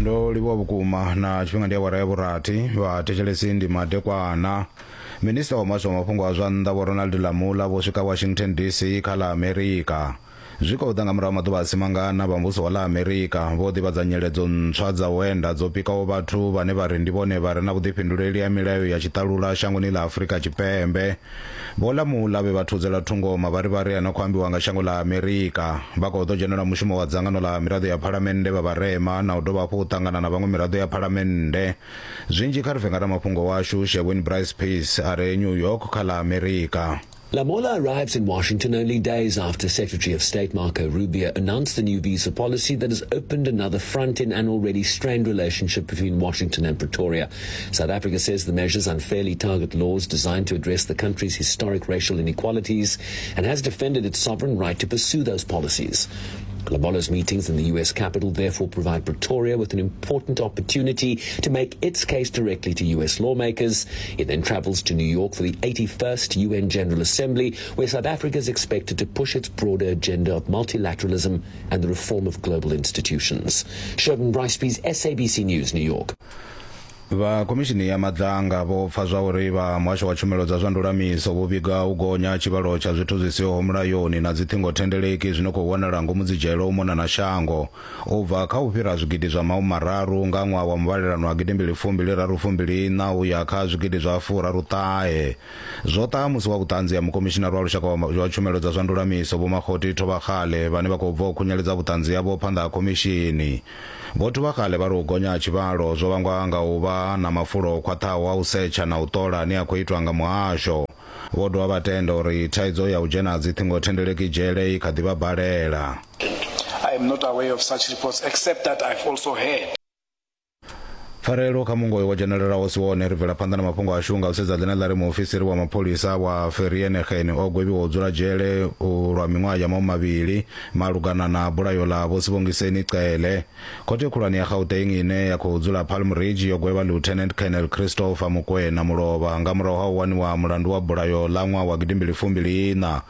Ndo livhuwa vhukuma na tshifhinga ndi awara ya vhurathi vhathetshelesi ndi madekwana. Minista wa muhasho wa mafhungo a zwa nnḓa Vho Ronald Lamola vho swika Washington DC kha ḽa Amerika. Zwi khou ḓa nga murahu ha maḓuvha a si mangana vha muvhuso wa ḽa Amerika vho ḓivhadza nyeledzo ntswa dza u enda dzo pikaho vhathu vhane vha ri ndi vhone vha re na vhuḓifhinduleli ha milayo ya tshiṱalula shangoni ḽa Afrika Tshipembe. Vho Lamola vhe vha thudzela thungo mavharivhari a no khou ambiwa nga shango ḽa Amerika vha khou ḓo dzhenela mushumo wa dzangano ḽa miraḓo ya phalamennde vha vharema na u dovha hafhu u ṱangana na vhaṅwe miraḓo ya phalamennde. Zwinzhi kha ri pfe nga ramafhungo washu Sherwin Bryce Pease a re New York kha ḽa Amerika. Lamola arrives in Washington only days after Secretary of State Marco Rubio announced the new visa policy that has opened another front in an already strained relationship between Washington and Pretoria. South Africa says the measures unfairly target laws designed to address the country's historic racial inequalities and has defended its sovereign right to pursue those policies. Lamola's meetings in the U.S. capital therefore provide Pretoria with an important opportunity to make its case directly to U.S. lawmakers. It then travels to New York for the 81st UN General Assembly, where South Africa is expected to push its broader agenda of multilateralism and the reform of global institutions. Sherman Bryce SABC News, New York. Vha khomishini ya Madlanga vho pfa zwa uri vha muhasho wa tshumelo dza zwa ndulamiso vho vhiga u gonya tshivhalo tsha zwithu zwi siho mulayoni na dziṱhingothendeleki zwi no khou wanala ngomu dzidzhele u mona na shango u bva kha u fhira zwigidi zwa mahumi mararu nga ṅwaha wa muvhalelano wa gidimbili fumbili raru fumbili iṋa u ya kha zwigidi zwa furaru ṱahe. Zwo ṱaha musi wa vhuṱanzi ha mukomishinari wa lushaka wa tshumelo dza zwa ndulamiso Vho Makgoti Thobakgale vhane vha khou bva u khunyeledza vhuṱanzi havho phanḓa ha khomishini. Vho Thobakgale vha ri u gonya ha tshivhalo zwo vhangwa nga u vha na mafulo o khwaṱhaho a u setsha na u ṱola ane a khou itwa nga muhasho. Vho dovha vha tenda uri thaidzo ya u dzhena ha dziṱhingothendeleki dzhele i kha ḓi vha balela. I am not aware of such reports except that I've also heard. Pfarelo kha mungoyo wo dzhenelelaho si wone. Ri bvela phanḓa na mafhungo ashu nga u sedza ḽine ḽa ri muofisiri wa mapholisa wa Vereeniging o gwevhiwa u dzula dzhele lwa miṅwaha ya mahumimavhili malugana na bulayo ḽa Vho Sibongiseni Cele. Khothe khulwane ya Gauteng ine ya khou dzula Palm Ridge yo gwevha Lieutenant Colonel Christopher Mokoena mulovha nga murahu ha u waniwa mulandu wa bulayo ḽa ṅwaha wa gidimbili fumbili iṋa.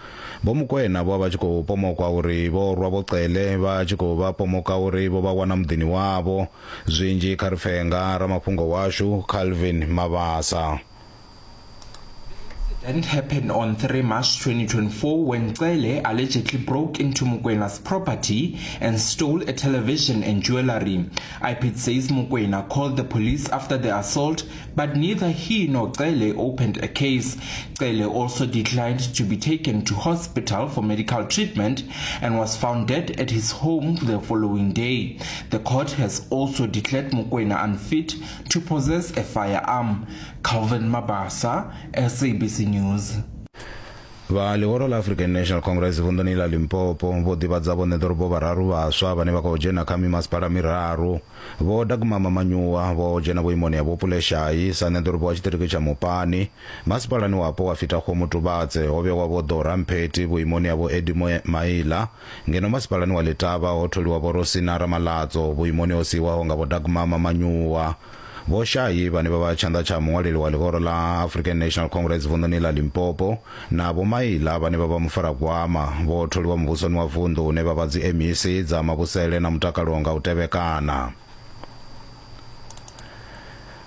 Vho Mokoena vho vha vha tshi khou pomokwa uri vho rwa Vho Cele vha tshi khou vha pomoka uri vho vha wana muḓini wavho. Zwinzhi kha ri pfe nga ramafhungo washu Calvin Mabasa. Incident happened on 3 March 2024 when Cele allegedly broke into Mukwena's property and stole a television and jewelry. IPID says Mukwena called the police after the assault, but neither he nor Cele opened a case. Cele also declined to be taken to hospital for medical treatment and was found dead at his home the following day. The court has also declared Mukwena unfit to possess a firearm. Calvin Mabasa, SABC News. Vha ḽihoro ḽa African National Congress vunḓuni ḽa Limpopo vho ḓivhadza vhoṋe ḓorobo vhararu vhaswa vhane vha khou dzhena kha mimasipala miraru. Vho Dagmama Manyuwa vho dzhena vhuimoni ha Vho Pule Shayi sa ṋeḓorobo wa tshiṱiriki tsha Mopani. Masipalani wapo wa Fetakgomo Tubatse ho vhewa Vho Dora Mpheti vhuimoni ha Vho Eddie Maila, ngeno masipalani wa Letaba ho tholiwa Vho Rosina Ramalatso vhuimoni ho siiwaho nga Vho Dagmama Manyuwa. Vho Shayi vhane vha vha tshanḓa tsha muṅwaleli wa ḽihoro ḽa African National Congress vunḓuni ḽa Limpopo na Vho Maila vhane vha vha mufaragwama vho tholiwa muvhusoni wa vunḓu hune vha vha dzi MEC dza mavhusele na mutakalo nga u tevhekana.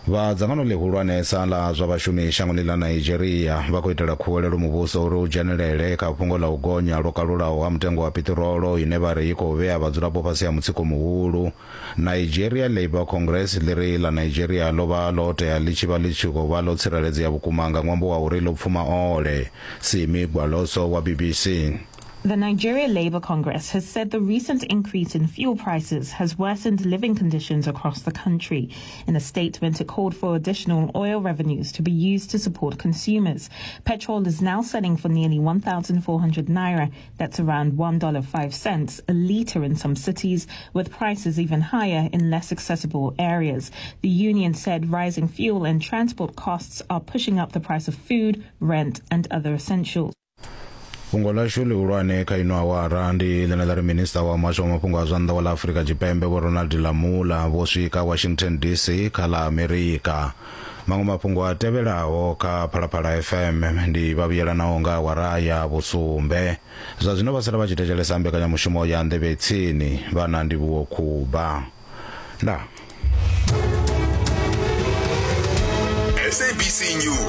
Vha dzangano ḽihulwanesa ḽa zwa vhashumi shangoni ḽa Nigeria vha khou itela khuwelelo muvhuso uri u dzhenelele kha fhungo ḽa u gonya lwo kalulaho ha mutengo wa piṱirolo ine vha ri i khou vhea vhadzulapo fhasi ha mutsiko muhulu. Nigeria Labour Congress ḽi ri ḽa Nigeria ḽo vha ḽo tea ḽi tshi vha ḽi tshi khou vha ḽo tsireledzea vhukuma nga ṅwambo wa uri ḽo pfuma ole. Simi Gwaloso wa BBC. The Nigeria Labour Congress has said the recent increase in fuel prices has worsened living conditions across the country. In a statement, it called for additional oil revenues to be used to support consumers. Petrol is now selling for nearly 1,400 naira, that's around $1.05 a litre in some cities, with prices even higher in less accessible areas. The union said rising fuel and transport costs are pushing up the price of food, rent, and other essentials. Fhungo ḽashu ḽihulwane kha ino awara ndi ḽine ḽa ri minista wa muhasho wa mafhungo a zwa nnḓa wa ḽa Afrika Tshipembe Vho Ronald Lamola vho swika Washington DC kha ḽa Amerika. Maṅwe mafhungo a tevhelaho kha Phalaphala FM ndi vha vhuyelanaho nga awara ya vhusumbe. Zwa zwino vha sala vha tshi thetshelesa mbekanyamushumo ya Nḓevhe Tsini vha na Ndivhuwo Khuba. Ndaa. SABC News.